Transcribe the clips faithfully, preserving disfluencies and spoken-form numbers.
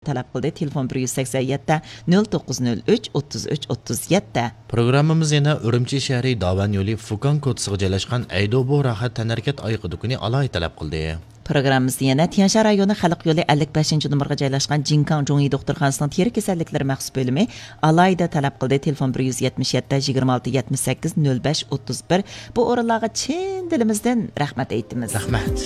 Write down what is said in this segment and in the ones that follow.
تەلەپ قىلدى. تېلېفون بىر يۈز سەكسەن يەتتە، نۆل توققۇز نۆل ئۈچ، ئوتتۇز ئۈچ، ئوتتۇز يەتتە. پروگراممىمىز يەنە ئۈرۈمچى شەھىرى داۋەن يولى فۇكاڭ كوچىسىغا جايلاشقان ئەيدوبو راھەت تەنھەرىكەت ئايىغى دۇكىنى ئالاھىدە تەلەپ قىلدى. پروگراممىمىزدا يەنە تيەنشان رايونى خەلق يولى ئەللىك بەشىنچى نومۇرغا جايلاشقان جىنكاڭ جۇڭيى دوختۇرخانىسىنىڭ تېرە كېسەللىكلىرى مەخسۇس بۆلۈمى ئالاھىدە تەلەپ قىلدى. تېلېفون بىر يۈز يەتمىش يەتتە، يىگىرمە ئالتە، يەتمىش سەككىز، نۆل بەش، ئوتتۇز بىر. بۇ ئورۇنلارغا چىن دىلىمىزدىن رەھمەت ئېيتىمىز. رەھمەت.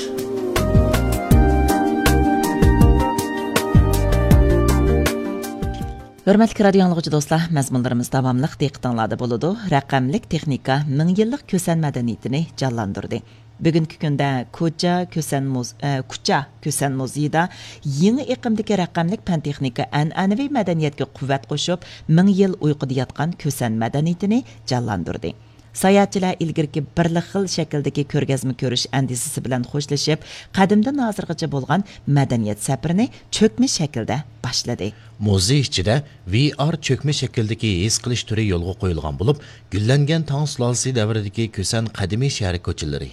ھۆرمەتلىك رادىيو ئاڭلىغۇچى دوستلار، مەزمۇنلىرىمىز داۋاملىق دىققىتىڭلاردا بولىدۇ. رەقەملىك تېخنىكا مىڭ يىللىق كۈسەن مەدەنىيىتىنى جانلاندۇردى. بۈگۈنكى كۈندە كوچا كۈسەن مۇز-، ئە، كۇچا كۈسەن مۇزېيىدا يېڭى ئېقىمدىكى رەقەملىك پەن-تېخنىكا ئەنئەنىۋى مەدەنىيەتكە قۇۋۋەت قوشۇپ، مىڭ يىل ئۇيقۇدا ياتقان كۈسەن مەدەنىيىتىنى جانلاندۇردى. ساياھەتچىلەر ئىلگىرىكى بىرلا خىل شەكىلدىكى كۆرگەزمە كۆرۈش ئەندىزىسى بىلەن خوشلىشىپ، قەدىمدىن ھازىرغىچە بولغان مەدەنىيەت سەپىرىنى چۆكمە شەكىلدە باشلىدى. مۇزېي ئىچىدە ۋي ئار چۆكمە شەكىلدىكى ھېس قىلىش تۈرى يولغا قويۇلغان بولۇپ، گۈللەنگەن تاڭ سۇلالىسى دەۋرىدىكى كۈسەن قەدىمىي شەھەر كوچىلىرى،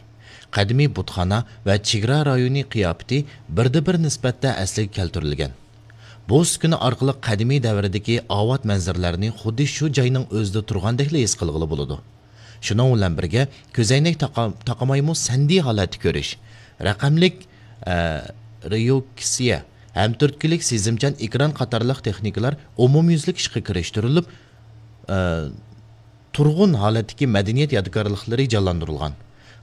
قەدىمىي بۇتخانا ۋە چېگرا رايونى قىياپىتى بىردە بىر نىسبەتتە ئەسلىگە كەلتۈرۈلگەن. بۇ ئۈسكۈنە ئارقىلىق قەدىمىي دەۋردىكى ئاۋات مەنزىرىلەرنى خۇددى شۇ جاينىڭ ئۆزىدە تۇرغاندەكلا ھېس قىلغىلى بولىدۇ. شۇنىڭ بىلەن بىرگە، كۆزەينەك تاقا-، تاقىمايمۇ سەندىي ھالەتتە كۆرۈش، رەقەملىك، ئە، رېئوكسىيە ھەم تۈرتكىلىك سېزىمچان ئېكران قاتارلىق تېخنىكىلار ئومۇميۈزلۈك ئىشقا كىرىشتۈرۈلۈپ، ئە، تۇرغۇن ھالەتتىكى مەدەنىيەت يادىكارلىقلىرى جانلاندۇرۇلغان.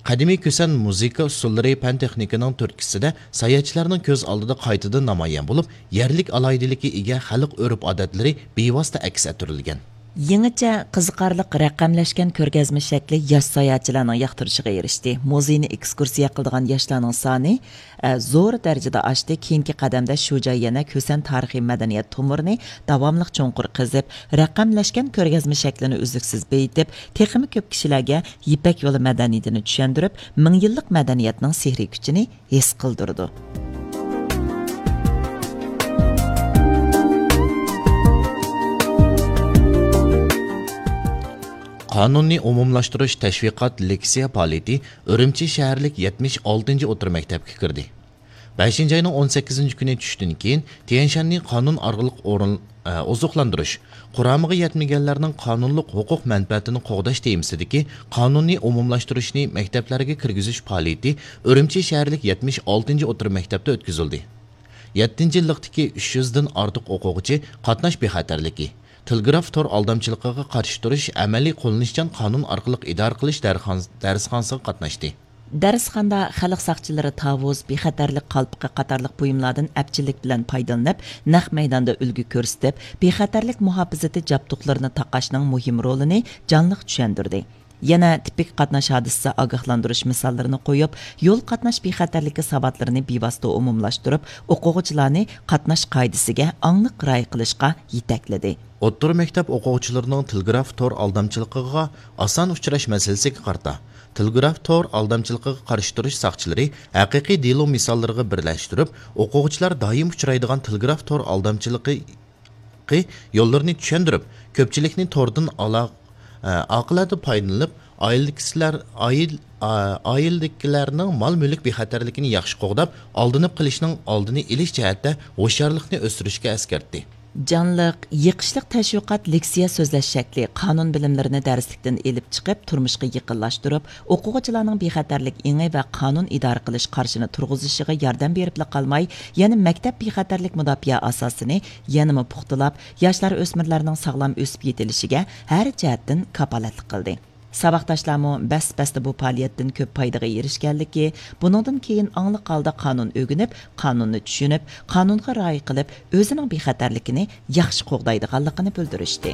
قەدىمىي كۈسەن مۇزىكا ئۇسسۇللىرى پەن-تېخنىكىنىڭ تۈرتكىسىدە ساياھەتچىلەرنىڭ كۆز ئالدىدا قايتىدىن نامايان بولۇپ، يەرلىك ئالاھىدىلىككە ئىگە خەلق ئۆرپ-ئادەتلىرى بىۋاسىتە ئەكس ئەتتۈرۈلگەن. يېڭىچە قىزىقارلىق رەقەملەشكەن كۆرگەزمە شەكلى ياش ساياھەتچىلەرنىڭ ياقتۇرۇشىغا ئېرىشتى. مۇزېينى ئېكسكۇرسىيە قىلىدىغان ياشلارنىڭ سانى، ئە، زور دەرىجىدە ئاشتى. كېيىنكى قەدەمدە شۇ جاي يەنە كۈسەن تارىخىي مەدەنىيەت تومۇرىنى داۋاملىق چوڭقۇر قېزىپ، رەقەملەشكەن كۆرگەزمە شەكلىنى ئۈزلۈكسىز بېيىتىپ، تېخىمۇ كۆپ كىشىلەرگە يىپەك يولى مەدەنىيىتىنى چۈشەندۈرۈپ، مىڭ يىللىق مەدەنىيەتنىڭ سېھرىي كۈچىنى ھېس قىلدۇرىدۇ. قانۇننى ئومۇملاشتۇرۇش تەشۋىقات لېكسىيە پائالىيىتى ئۈرۈمچى شەھەرلىك يەتمىش ئالتىنچى ئوتتۇرا مەكتەپكە كىردى. بەشىنچى ئاينىڭ ئون سەككىزىنچى كۈنى چۈشتىن كېيىن تيەنشاننى قانۇن ئارقىلىق ئورۇن-، ئە، ئوزۇقلاندۇرۇش، قۇرامىغا يەتمىگەنلەرنىڭ قانۇنلۇق ھوقۇق مەنپەئەتىنى قوغداش تېمىسىدىكى قانۇننى ئومۇملاشتۇرۇشنى مەكتەپلەرگە كىرگۈزۈش پائالىيىتى ئۈرۈمچى شەھەرلىك يەتمىش ئالتىنچى ئوتتۇرا مەكتەپتە ئۆتكۈزۈلدى. يەتتىنچى يىللىقتىكى ئۈچ يۈزدىن ئارتۇق ئوقۇغۇچى قاتناش بىخەتەرلىكى، تېلېگراف تور ئالدامچىلىقىغا قارشى تۇرۇش ئەمەلىي قوللىنىشچان قانۇن ئارقىلىق ئىدارە قىلىش دەرخان-، دەرسخانىسىغا قاتناشتى. دەرسخانىدا خەلق ساقچىلىرى تاۋۇز، بىخەتەرلىك قالپىقى قاتارلىق بۇيۇملاردىن ئەپچىللىك بىلەن پايدىلىنىپ، نەق مەيداندا ئۈلگە كۆرسىتىپ، بىخەتەرلىك مۇھاپىزىتى جابدۇقلىرىنى تاقاشنىڭ مۇھىم رولىنى جانلىق چۈشەندۈردى. يەنە تىپىك قاتناش ھادىسىسى ئاگاھلاندۇرۇش مىساللىرىنى قويۇپ، يول قاتناش بىخەتەرلىكى ساۋاتلىرىنى بىۋاسىتە ئومۇملاشتۇرۇپ، ئوقۇغۇچىلارنى قاتناش قائىدىسىگە ئاڭلىق رىئايە قىلىشقا يېتەكلىدى. ئوتتۇرا مەكتەپ ئوقۇغۇچىلىرىنىڭ تېلېگراف تور ئالدامچىلىقىغا ئاسان ئۇچراش مەسىلىسىگە قارىتا، تېلېگراف تور ئالدامچىلىقىغا قارشى تۇرۇش ساقچىلىرى ھەقىقىي دېلو مىساللىرىغا بىرلەشتۈرۈپ، ئوقۇغۇچىلار دائىم ئۇچرايدىغان تېلېگراف تور ئالدامچىلىقى يوللىرىنى چۈشەندۈرۈپ، كۆپچىلىكنى توردىن ئالا-، ئاقىلانە پايدىلىنىپ، ئائىلىدىكىلەر، ئائىل-، ئائىلىدىكىلەرنىڭ مال-مۈلۈك بىخەتەرلىكىنى ياخشى قوغداپ، ئالدىنىپ قېلىشنىڭ ئالدىنى ئېلىش جەھەتتە ھوشيارلىقنى ئۆستۈرۈشكە ئەسكەرتتى. جانلىق، يېقىشلىق تەشۋىقات لېكسىيە سۆزلەش شەكلى، قانۇن بىلىملىرىنى دەرسلىكتىن ئېلىپ چىقىپ، تۇرمۇشقا يېقىنلاشتۇرۇپ، ئوقۇغۇچىلارنىڭ بىخەتەرلىك ئېڭى ۋە قانۇن ئىدارە قىلىش قارىشىنى تۇرغۇزۇشىغا ياردەم بېرىپلا قالماي، يەنە مەكتەپ بىخەتەرلىك مۇداپىئە ئاساسىنى يەنىمۇ پۇختىلاپ، ياشلار، ئۆسمۈرلەرنىڭ ساغلام ئۆسۈپ يېتىلىشىگە ھەر جەھەتتىن كاپالەتلىك قىلدى. ساۋاقداشلارمۇ بەس-بەستە بۇ پائالىيەتتىن كۆپ پايدىغا ئېرىشكەنلىكى، بۇنىڭدىن كېيىن ئاڭلىق ھالدا قانۇن ئۆگىنىپ، قانۇننى چۈشىنىپ، قانۇنغا رىئايە قىلىپ، ئۆزىنىڭ بىخەتەرلىكىنى ياخشى قوغدايدىغانلىقىنى بىلدۈرۈشتى.